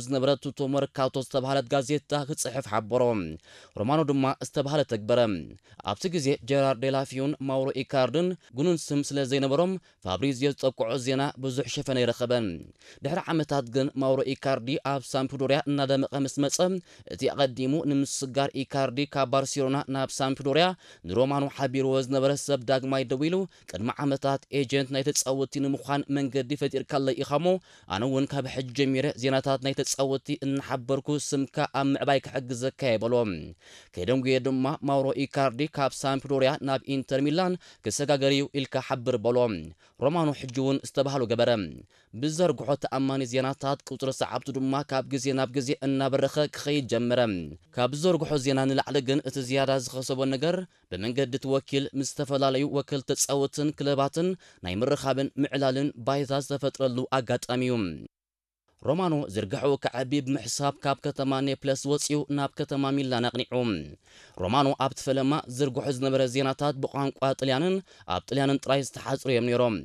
ዝነበረ ቱቶ መርካቶ ዝተባህለት ጋዜጣ ክጽሕፍ ሓበሮ። ሮማኖ ድማ ዝተባህለ ተግበረ። ኣብቲ ግዜ ጀራርድ ዴላፊዩን ማውሮ ኢካርድን ግኑን ስም ስለ ዘይነበሮም፣ ፋብሪዚዮ ዝጠቅዖ ዜና ብዙሕ ሸፈነ ኣይረኸበን። ድሕሪ ዓመታት ግን ማውሮ ኢካርዲ ኣብ ሳምፕዶርያ እናደመቐ ምስ መጸ፣ እቲ ኣቐዲሙ ንምስጋር ኢካርዲ ካብ ባርሴሎና ናብ ሳምፕዶርያ ንሮማኖ ሓቢርዎ ዝነበረ ሰብ ዳግማይ ደዊሉ፣ ቅድሚ ዓመታት ኤጀንት ናይ ተጻወትቲ ንምዃን መንገዲ ፈጢርካለይ ኢኻሞ፣ ኣነ እውን ካብ ሕጂ ጀሚረ ዜናታት ናይ ተጻወትቲ እናሓበርኩ ስምካ ኣብ ምዕባይ ክሕግዘካ እየ በሎ። ከይደንጉየ ድማ ማውሮ ኢካርዲ ካብ ሳምፕዶርያ ናብ ኢንተር ሚላን ክሰጋገር እዩ ኢልካ ሓብር በሎ። ሮማኖ ሕጂ እውን ዝተባህሎ ገበረ። ብዘርግሖ ተኣማኒ ዜናታት ቁጽሪ ሰዓብቱ ድማ ካብ ግዜ ናብ ግዜ እናበረኸ ክኸይድ ጀመረ። ካብ ዝዘርግሖ ዜና ንላዕሊ ግን እቲ ዝያዳ ዝኸሰቦ ነገር ብመንገዲ እቲ ወኪል ምስ ዝተፈላለዩ ወከልቲ ተጻወትን ክለባትን ናይ ምርኻብን ምዕላልን ባይታ ዝተፈጥረሉ ኣጋጣሚ እዩ። ሮማኖ ዝርግሐኡ ክዓቢ ብምሕሳብ ካብ ከተማ ኔፕለስ ወጺኡ ናብ ከተማ ሚላን ኣቕኒዑ። ሮማኖ ኣብቲ ፈለማ ዝርግሖ ዝነበረ ዜናታት ብቋንቋ ጥልያንን ኣብ ጥልያንን ጥራይ ዝተሓጽሩ እዮም ነይሮም።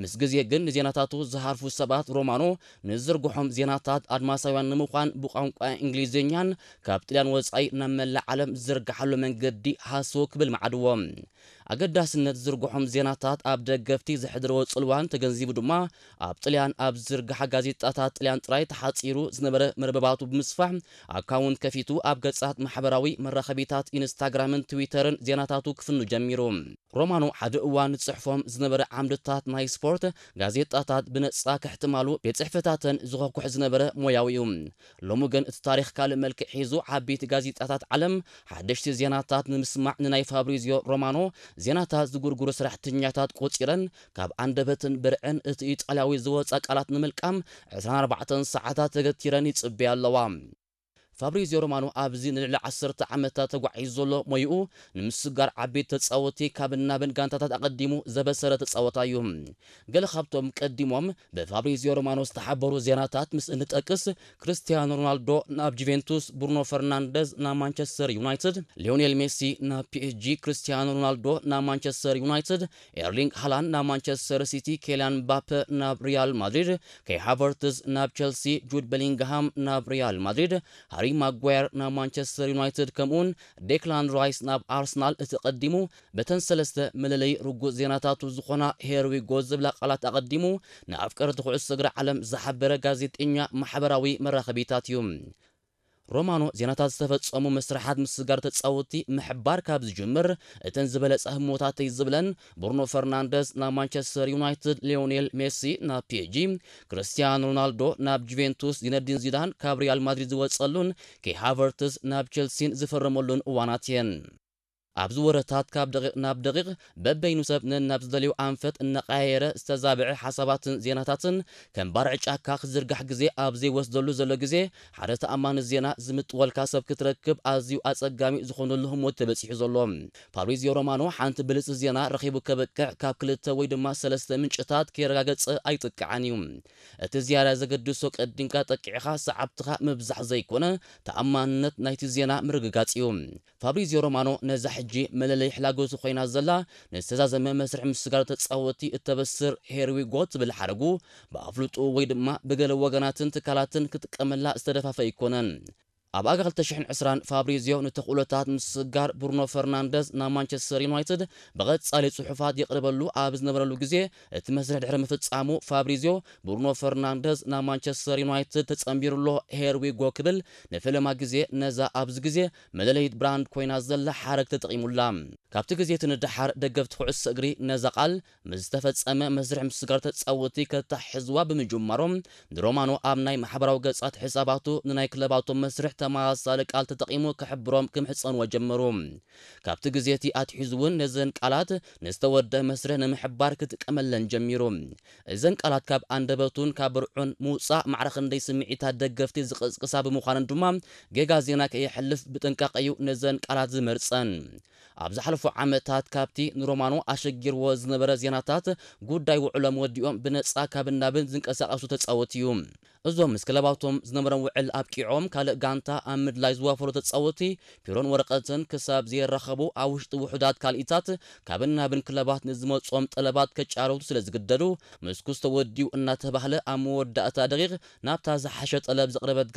ምስ ግዜ ግን ንዜናታቱ ዝሃርፉ ሰባት ሮማኖ ንዝርግሖም ዜናታት ኣድማሳውያን ንምዃን ብቋንቋ እንግሊዝኛን ካብ ጥልያን ወጻኢ ናብ መላእ ዓለም ዝዝርግሓሉ መንገዲ ሃስው ክብል መዓድዎ። ኣገዳስነት ዝርግሖም ዜናታት ኣብ ደገፍቲ ዘሕድርዎ ጽልዋን ተገንዚቡ ድማ ኣብ ጥልያን ኣብ ዝርግሓ ጋዜጣታት ጥልያን ጥራይ ተሓጺሩ ዝነበረ መርበባቱ ብምስፋሕ ኣካውንት ከፊቱ ኣብ ገጻት ማሕበራዊ መራኸቢታት ኢንስታግራምን ትዊተርን ዜናታቱ ክፍኑ ጀሚሩ። ሮማኖ ሓደ እዋን ዝጽሕፎም ዝነበረ ዓምድታት ናይ ስፖርት ጋዜጣታት ብነጻ ከሕትማሉ ቤት ጽሕፈታተን ዝኸኩሕ ዝነበረ ሞያዊ እዩ። ሎሚ ግን እቲ ታሪኽ ካልእ መልክዕ ሒዙ ዓበይቲ ጋዜጣታት ዓለም ሓደሽቲ ዜናታት ንምስማዕ ንናይ ፋብሪዚዮ ሮማኖ ዜናታት ዝጉርጉሩ ሰራሕተኛታት ቆጺረን ካብ ኣንደበትን ብርዕን እቲ ኢጣልያዊ ዝወጻ ቃላት ንምልቃም ዕስራን ኣርባዕተን ሰዓታት ተገቲረን ይጽበያ ኣለዋ። ፋብሪዚዮ ሮማኖ ኣብዚ ንልዕሊ ዓሰርተ ዓመታት ተጓዒዙ ዘሎ ሞይኡ ንምስጋር ዓበይቲ ተጻወቲ ካብ እናብን ጋንታታት ኣቐዲሙ ዘበሰረ ተጻወታይ እዩ። ገለ ካብቶም ቀዲሞም ብፋብሪዚዮ ሮማኖ ዝተሓበሩ ዜናታት ምስ እንጠቅስ፣ ክርስቲያኖ ሮናልዶ ናብ ጁቬንቱስ፣ ብሩኖ ፈርናንደዝ ናብ ማንቸስተር ዩናይትድ፣ ሊዮኔል ሜሲ ናብ ፒ ኤስ ጂ፣ ክርስቲያኖ ሮናልዶ ናብ ማንቸስተር ዩናይትድ፣ ኤርሊንግ ሃላንድ ናብ ማንቸስተር ሲቲ፣ ኬልያን ምባፐ ናብ ሪያል ማድሪድ፣ ከይ ሃቨርትዝ ናብ ቸልሲ፣ ጁድ ቤሊንግሃም ናብ ሪያል ማድሪድ፣ ሃሪ ማጓየር ናብ ማንቸስተር ዩናይትድ፣ ከምኡውን ዴክላን ራይስ ናብ ኣርሰናል። እቲ ቀዲሙ በተን ሰለስተ መለለዪ ርጉጽ ዜናታቱ ዝኾና ሄር ዊ ጎ ዝብላ ቃላት ኣቐዲሙ ንኣፍቀርቲ ኩዕሶ እግሪ ዓለም ዝሓበረ ጋዜጠኛ ማሕበራዊ መራኸቢታት እዩ። ሮማኖ ዜናታት ዝተፈጸሙ መስርሓት ምስጋር ተጻወቲ ምሕባር ካብ ዝጅምር፣ እተን ዝበለጸ ህሞታተይ ዝብለን ብሩኖ ፈርናንደዝ ናብ ማንቸስተር ዩናይትድ፣ ሊዮኔል ሜሲ ናብ ፒ ኤስ ጂ፣ ክርስቲያኖ ሮናልዶ ናብ ጁቬንቱስ፣ ዚነዲን ዚዳን ካብ ሪያል ማድሪድ ዝወጸሉን ከይ ሃቨርትዝ ናብ ቸልሲን ዝፈረመሉን እዋናት እየን። ኣብዚ ወረታት ካብ ደቂቕ ናብ ደቂቕ በበይኑ ሰብ ነናብ ዝደልዮ ኣንፈት እናቐያየረ ዝተዛብዐ ሓሳባትን ዜናታትን ከም ባርዕ ጫካ ክዝርጋሕ ግዜ ኣብ ዘይወስደሉ ዘሎ ግዜ፣ ሓደ ተኣማኒ ዜና ዝምጥወልካ ሰብ ክትረክብ ኣዝዩ ኣጸጋሚ ዝኾነሉ ህሞት ተበጺሑ ዘሎ። ፋብሪዚዮ ሮማኖ ሓንቲ ብልጽቲ ዜና ረኺቡ ከብቅዕ ካብ ክልተ ወይ ድማ ሰለስተ ምንጭታት ከየረጋገጸ ኣይጥቅዓን እዩ። እቲ ዝያዳ ዘገድሶ ቀዲምካ ጠቂዕኻ ሰዓብትኻ ምብዛሕ ዘይኮነ፣ ተኣማንነት ናይቲ ዜና ምርግጋጽ እዩ። ፋብሪዚዮ ሮማኖ ነዛ ሕጂ መለለይ ሕላጎቱ ኮይና ዘላ ንዝተዛዘመ መስርሕ ምስጋር ተጻወቲ እተበስር ሄር ዊ ጎ ትብል ሓረጉ ብኣፍልጦኡ ወይ ድማ ብገለ ወገናትን ትካላትን ክጥቀመላ ዝተደፋፈ ኣይኮነን። ኣብ ኣጋ ክልተ ሽሕን ዕስራን ፋብሪዚዮ ንተኽእሎታት ምስጋር ብሩኖ ፈርናንደዝ ናብ ማንቸስተር ዩናይትድ ብቐጻሊ ጽሑፋት የቕርበሉ ኣብ ዝነበረሉ ግዜ፣ እቲ መስርሕ ድሕሪ ምፍጻሙ ፋብሪዚዮ ብሩኖ ፈርናንደዝ ናብ ማንቸስተር ዩናይትድ ተጸንቢሩ ኣሎ ሄር ዊ ጎ ክብል ንፈለማ ግዜ ነዛ ኣብዚ ግዜ መለለይት ብራንድ ኮይና ዘላ ሓረግ ተጠቒሙላ። ካብቲ ግዜ እቲ ንደሓር ደገፍቲ ኩዕሶ እግሪ ነዛ ቃል ምስ ዝተፈጸመ መስርሕ ምስጋር ተጻወቲ ከታሕዝዋ ብምጅማሮም፣ ንሮማኖ ኣብ ናይ ማሕበራዊ ገጻት ሕሳባቱ ንናይ ክለባቶም መስርሕ ተመሳሳሊ ቃል ተጠቒሙ ክሕብሮም ክምሕጸንዎ ጀመሩ። ካብቲ ግዜ እቲ ኣትሒዙ እውን ነዘን ቃላት ንዝተወደአ መስርሕ ንምሕባር ክጥቀመለን ጀሚሩ። እዘን ቃላት ካብ ኣንደበቱን ካብ ብርዑን ምውጻእ ማዕረ ክንደይ ስምዒታት ደገፍቲ ዝቕስቅሳ ብምዃነን ድማ ጌጋ ዜና ከየሕልፍ ብጥንቃቐ እዩ ነዘን ቃላት ዝመርጸን። ኣብ ዝሓለፉ ዓመታት ካብቲ ንሮማኖ ኣሸጊርዎ ዝነበረ ዜናታት ጉዳይ ውዕሎም ወዲኦም ብነጻ ካብን ናብን ዝንቀሳቐሱ ተጻወቲ እዩ። እዞም ምስ ክለባቶም ዝነበሮም ውዕል ኣብቂዖም ካልእ ጋንታ ኣብ ምድላይ ዝዋፈሩ ተጻወቲ ፒሮን ወረቐትን ክሳብ ዘየራኸቡ ኣብ ውሽጢ ውሑዳት ካልኢታት ካብን ናብን ክለባት ንዝመጾም ጠለባት ከጫረቱ ስለ ዝግደዱ፣ ምስኩስ ተወዲኡ እናተባህለ ኣብ መወዳእታ ደቂቕ ናብታ ዝሓሸ ጠለብ ዘቕረበት